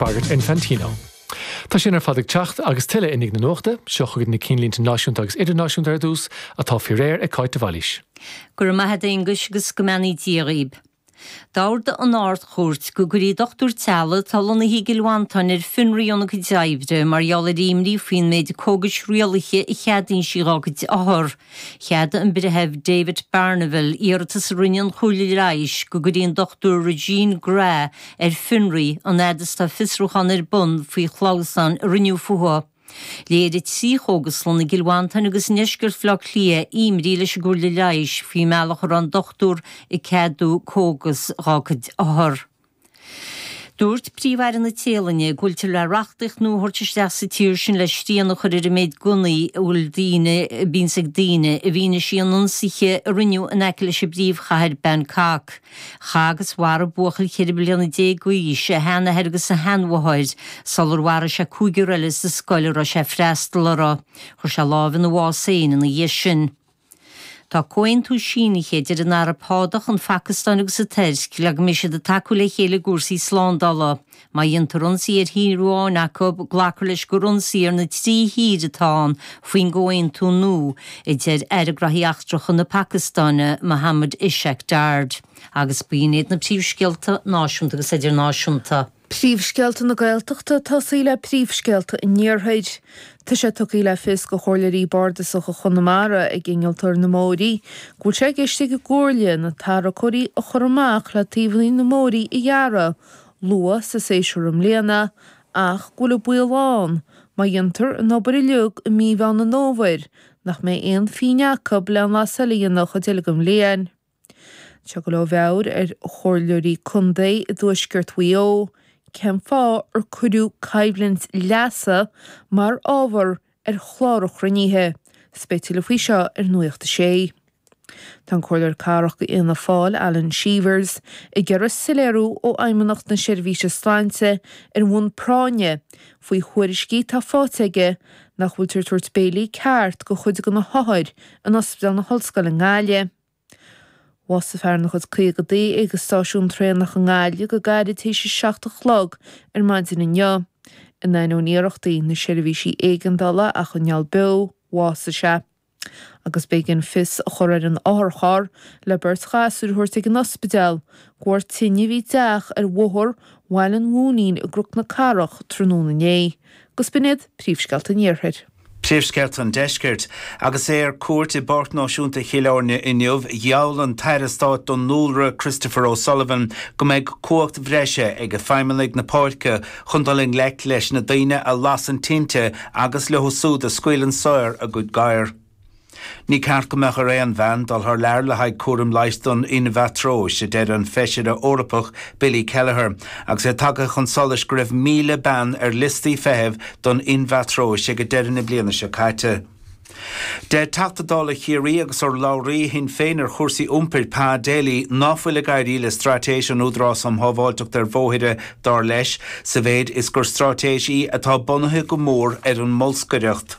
Bagairt Infantino. Tá sin ar fad ag teacht agus tuilleadh i ndiaidh na nuachta. Seo chugaibh na cinnlínte náisiúnta agus idirnáisiúnta ar dtús, atá faoi réir ag Cáit de Bhailís. Go raibh maith a't a Aonghuis agus go mbeannaí Dia dhaoib. D'ordaigh an Ard-Chúirt go gcuirfí dochtúir teaghlaigh atá lonnaithe i gCill Mhantáin ar fionraí óna cuid oibre mar gheall ar imní faoin méid cógais rialaithe a cheadaíonn sí dhá cuid othar. Cheadaigh an Breitheamh David Barniville iarratas a rinne an Chomhairle Leighis go gcuirfí an Dr Regine Grawe ar fionraí an fhad is atá fiosrúchán ar bun faoi chlamhsáin a rinneadh fúithi. Léirigh 3 chógaslann i gCill Mhantáin agus i ndeisceart Bhaile Átha Cliath imní leis an gComhairle Leighis faoin mbealach a raibh an dochtúir ag ceadú cógas dhá cuid othar. Dúirt Príomh-Aire na Téalainne go bhfuiltear le reachtaíocht nua a thabhairt isteach sa tír sin le srian a chur ar an méid gunnaí a bhfuil daoine, a bhíonns ag daoine, i bhfianaise an ionsaithe a rinneadh in aice leis an bpríomhchathair Bangkok. Chaith agus mharaigh buachaill 14 bliana d'aois a sheanathair agus a sheanmháthair sular mharaigh sé cúigear eile sa scoil a raibh sé ag freastal uirthi. Chuir sé lámh ina bhás féin ina dhiaidh sin. Tá comhaontú sínithe idir an Araib Shádach, an Phacastáin agus an Tuirc le go mbeidh siad ag tacú le chéile i gcúrsaí slándála. Má dhéantar ionsaí ar thír amháin acu, glacfar leis gur ionsaí ar na trí thír atá ann faoin gcomhaontú nua, a deir Aire Graithí Eachtracha na Pacastáine, Mohammad Ishaq Dar. Agus b'in iad na príomhscéalta náisiúnta agus idirnáisiúnta. Príomhscéalta na Gaeltachta ag tosaí le príomhscéalta an Iarthair. Tá sé tugtha le fios do chomhairleoirí bardasacha Chonamara ag innealtóir na mbóithrí go bhfuil sé i gceist ag an gComhairle na tarracóirí a chur amach le taobhanna na mbóithrí a ghearradh luath sa séasúr i mbliana ach go bhfuil an baol ann má dhéantar an obair uilig i mí Mheán an Fhómhair nach mbeidh aon phingin acu le an las eile a dhéanamh an chuid eile den bhliain. Tá go leor mheabhair ar chomhairleoirí contae i dtuaisceart Mhaigh Eo cén fáth ar cuireadh coimhlint leasa mar ábhar ar chlár an chruinnithe. 'S beidh tuilleadh faoi seo ar Nuacht a Sé. Tá an Comhairleoir Cathrach do Fhianna Fáil, Alan Cheevers, ag iarraidh soiléiriú ó Fheidhmeannacht na Seirbhíse Sláinte ar bhonn práinne faoi thuairiscí atá faighte aige nach bhfuiltear ag tabhairt béilí ceart do chuid de na hothair in Ospidéal na hOllscoile i nGaillimh. Bhásaigh fear ina chuid caogadaí ag an stáisiún traenach i nGaillimh go gairid tar éis a 7 a chlog ar maidin inniu. In ainneoin iarrachtaí na seirbhísí éigeandála é a choinneáil beo, bhásaigh sé. Agus b'éigean fios a chur ar an otharcharr le beirt ghasúr a thabhairt ag an ospidéal de bharr tine a bhí i dteach ar bhóthar Bhaile an Mhúinín i gCnoc na Cathrach tráthnóna inné. Agus b'in iad príomhscéalta an Iarthair. Príomhscéalta an Deiscirt. Agus é ar cuairt i bPáirc Náisiúnta Chill Airne inniu, gheall an tAire Stáit don Dúlra, Christopher O'Sullivan, go mbeidh cumhacht bhreise ag feidhmeannaigh na páirce chun dul i ngleic leis na daoine a lasann tinte agus leo súd a scaoileann saor a gcuid gadhar. Ní ceart go mbeadh ar aon bhean dul thar lear le haghaidh cúram leighis don inmheatróis, a deir an Feisire Eorpach Billy Kelleher, agus é tagtha chun solais go raibh 1,000 bean ar liostaí feithimh don inmheatróis ag deireadh na bliana seo caite. Deir Teachta Dála Chiarraí agus urlabhraí Shinn Féin ar chúrsaí iompair, Pa Daly, ná fuil ag éirí le straitéis an Údarás um Shábháilteacht ar Bhóithre, dar leis, sa mhéid is gur straitéis í atá bunaithe go mór ar an mbolscaireacht.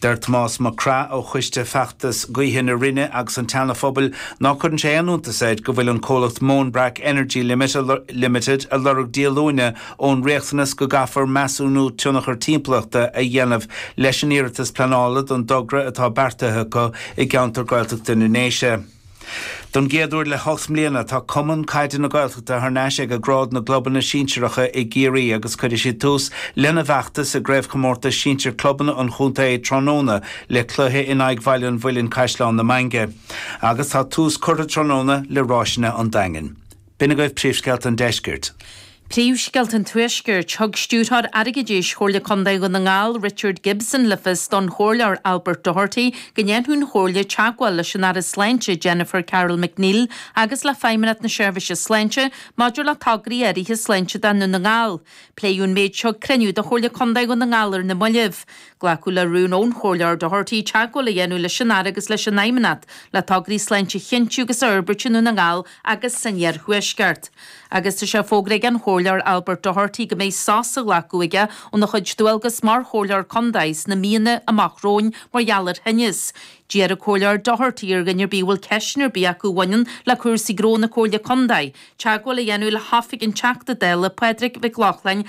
Deir Tomás Mac Craith ó Choiste Feachtas Gaoithe na Rinne agus an tSeana Phobail ná cuireann sé aon iontas air go bhfuil an comhlacht Móinbreac Energy Limited ag lorg díolúine ón riachtanas go gcaithfear measúnú tionchar timpeallachta a dhéanamh leis an iarratas pleanála don dtogra atá beartaithe acu i gceantar Gaeltachta na nDéise. Don gcéad uair le hocht mbliana, tá Cumann Caide na Gaeltachta thar n-ais ag grád na gclubanna sinsearacha i gCiarraí agus cuirfidh siad tús lena bhfeachtas i gCraobhchomórtas Sinsir Clubanna an chontae tráthnóna le cluiche in aghaidh Bhaile an Mhuilinn Caisleán na Mainge. Agus tá tús curtha tráthnóna le Ráiseanna an Daingin. B'in agaibh príomhscéalta an deiscirt. Príomhscéalta an Tuaiscirt. Thug Stiúrthóir Airgeadais Chomhairle Contae Dhún na nGall, Richard Gibson, le fios don Chomhairleoir Albert Doherty go ndéanfadh an Chomhairle teagmháil leis an Aire Sláinte Jennifer Carroll MacNeill agus le Feidhmeannacht na Seirbhíse Sláinte maidir le tograí áirithe sláinte do Dhún na nGall. Pléadh an méid seo ag cruinniú de Chomhairle Contae Dhún na nGall ar na mallaibh. Glacadh le rún ón Chomhairleoir Doherty teagmháil a dhéanamh leis an Aire agus leis an Fheidhmeannacht le tograí sláinte a chinntiú agus a fhorbairt i nDún na nGall agus san Iarthuaisceart. Agus tá sé fógraithe ag an Chomhairleoir Albert Doherty go mbeidh sos á ghlacadh aige óna chuid dualgas mar Chomhairleoir Contae sna míonna amach romhainn mar gheall ar thinneas. D'iarr an Comhairleoir Doherty ar dhuine ar bith a bhfuil ceisteanna ar bith acu a bhaineann le cúrsaí gnó na Comhairle Contae, teagmháil a dhéanamh le hoifig an Teachta Dála Pádraig Mhic Lochlainn.